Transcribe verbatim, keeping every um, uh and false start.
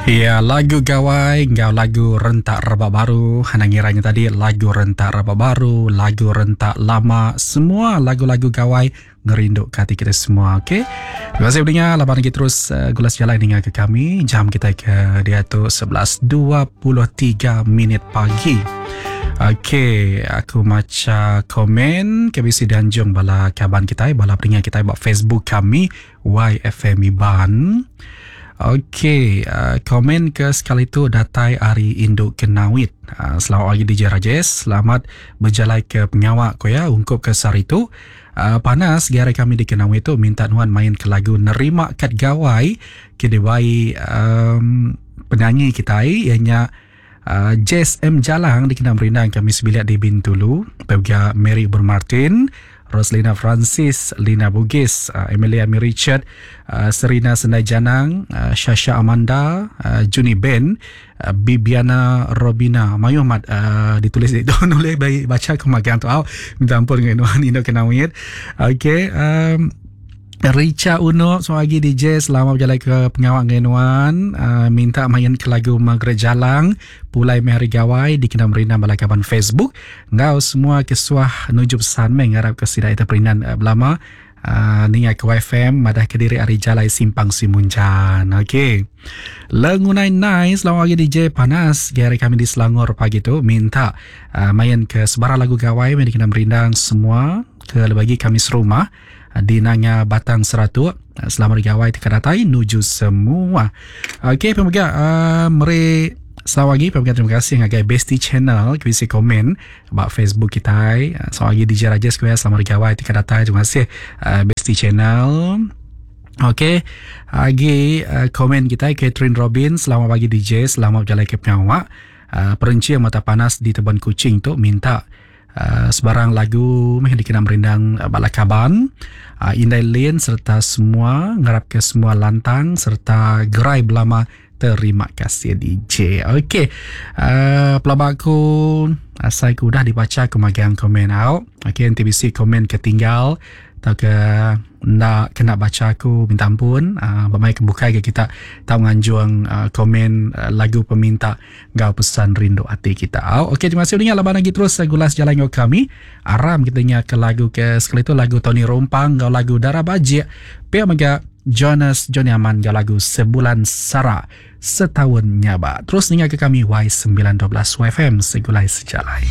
Ya, lagu gawai enggau lagu rentak rebak baru. Anang ngira nya tadi lagu rentak rebak baru, lagu rentak lama, semua lagu-lagu gawai ngerindu ke ati kita semua. Okey. Terima kasih pendengar laban lagi terus uh, gula sejalai ninga ke kami. Jam kita ke diatu sebelas dua puluh tiga minit pagi. Okey, aku maca komen ke bisi dianjung bala kaban kita, bala pendengar kita ba Facebook kami Y F M Iban. Okey, uh, komen ke sekali tu datai ari Induk Kenawit. Uh, selamat pagi D J Rajesh, selamat berjalai ke pengawak ko ya ungkup ke sehari tu. Uh, panas gara kami di Kenawit tu minta nuan main ke lagu Nerima Kat Gawai ke diwai um, penyanyi kita ianya uh, Jess M Jalang dikena merindang kami sebilik di Bintulu, Pega Mary Bermartin, Roslina Francis, Lina Bugis, uh, Emilia Mary Richard, uh, Serina Sendai Janang, uh, Shasha Amanda, uh, Juni Ben, uh, Bibiana Robina. Mayu amat uh, ditulis itu nulis baik baca aku magang tu. Au, minta ampun dengan Nuan Indo Kenawit. Okey, um, Richa Uno, selamat pagi D J, selamat berjalan ke pengawak dengan Nuan. Uh, minta main ke lagu Margaret Jalang, Pulai Mehari Gawai, dikena merindang bala kaban Facebook. Ngau semua kesuah nuju pesan meng harap ke sidai terperinan uh, belama. Uh, ni ke Y F M, madah ke diri ari jalai simpang Simunjan. Okey. Lengunai nice, selamat pagi D J, panas gari kami di Selangor pagi tu minta uh, main ke sebarang lagu gawai yang dikena merindang semua ke bagi kami serumah di Nanga Batang Seratuk. Selamat gawai teka datai nuju semua. Okey, pemoga uh, meri selamat pagi, pemoga terima kasih ngagai Bestie Channel kisi komen about Facebook kita. Selamat pagi D J Rajesh kuya, selamat gawai teka datai, terima kasih uh, Bestie Channel. Okey, lagi uh, komen kita Catherine Robin, selamat pagi D J, selamat berjalan ke pengawak. Uh, perencing mata panas di Teban Kucing tu minta Uh, sebarang lagu meh dikena merindang uh, bala kaban uh, Indai Lin serta semua ngarap ke semua lantang serta gerai belama. Terima kasih D J. Okey, uh, pelabaku asai ku dah dibaca ku magang komen out. Okey, N T B C komen ketinggal atau ke nak kena baca aku minta ampun. Uh, bermain kebukai ke kita tahu nganjuang uh, komen uh, lagu peminta gau pesan rindu hati kita. Oh, okey, terima kasih dengar laban lagi terus uh, gulas jalan ngau kami. Aram kita ingat ke lagu ke sekali tu lagu Tony Rompang gau lagu Darah Bajik. Pia mega Jonas Johnny Aman gau lagu Sebulan Sara Setahun Nyaba. Terus dengar ke kami Y sembilan dua belas Y F M segulai sejalai.